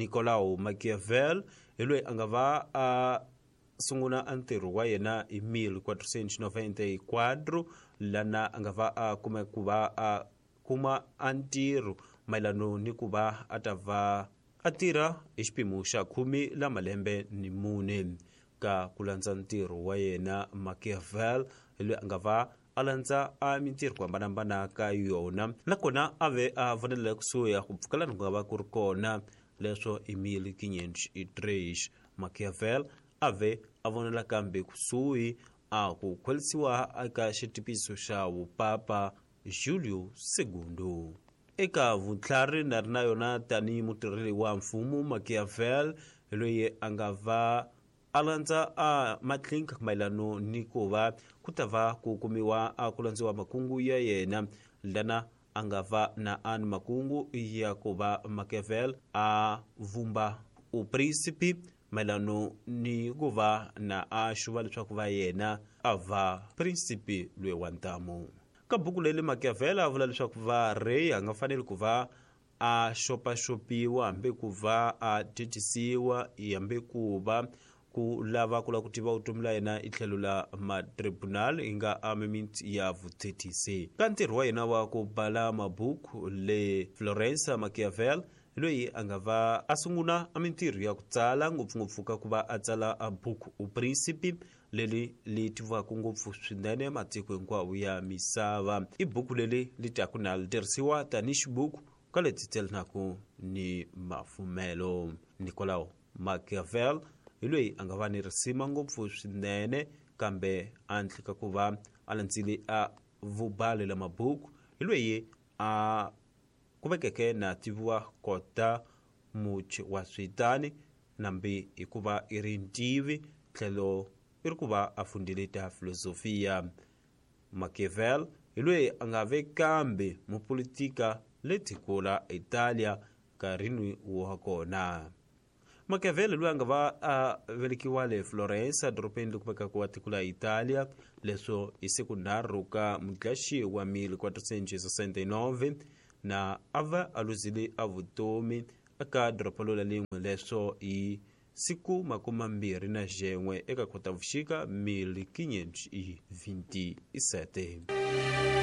Nicolau Machiavel hi loyi a nga va a sungula a ntirho wa yena hi 1494, lana a nga va a kume ku va a kuma a ntirho mayelano ni ku va a ta va a tirha hi xiphemu xa 14 la malembe ni 4. Ka ku landza ntirho wa yena, Machiavel hi loyi a nga va a landza a mintirho ku hambanahambana ka yona, nakona a ve a vonela kusuhi ku pfukelana ku nga va ku ri kona. Leswo hi 1503 Machiavel a ve a vonela kambe kusuhi a ku khwelisiwa eka xitipiso xa vupapa Julio II. Eka vutlhari na ri na yona tanihi mutirheli wa mfumo, Machiavel hi loyi a nga va a landza a matlinka mayelano ni ku va ku ta va ku kumiwa a ku landziwa makungu ya yena, lana a nga va na ani makungu ya ku va Machiavel a vumba uprinsipi mayelano ni ku va na a xuva leswaku va yena a va prinsipi loyi wa ntamu. Ka buku leri Machiavel a vula leswaku va rey a nga faneli ku va a xopaxopiwa hambi ku va a thethisiwa hambi ku va ku lava ku lava ku tiva vutomi la yena i tlhelo la matribunal yi nga amendment ya vuthethisi. Ka ntirho wa yena wa ku bala mabuku le Florence, Machiavel loyi a nga va a sungula a mintirho ya ku tsala, ngopfungopfu ka ku va a tsala a buku U Principe, leri li tiviwaka ngopfu swinene matiko hinkwawo ya misava. I buku leri li taku na li tirhisiwa tanihi xibuku ka leti tselanaka ni mafumelo. Nicolau Machiavel hi loyi a nga va ni risima ngopfu swinene, kambe a ndlika ku va a landzile a vubali la mabuku, hi loyi a kuvekeke na tiviwa kota muchi wa switani, nambi hikuva i ri ntivi tlhelo i ri ku va a fundile ta filosofia. Machiavel hi loyi a nga ve kambe mupolitika le tiko la Italia nkarhini wa kona. Machiavelli loyi a nga va a velekiwa le Florence, dorobeni leri kumekaka wa tiko la Italia, leswo hi siku 3 ka Mudlaxi wa 1469, na a va a luzile a vutomi eka doroba lola lin'we, leswo hi siku 21 eka Khotavuxika 1527.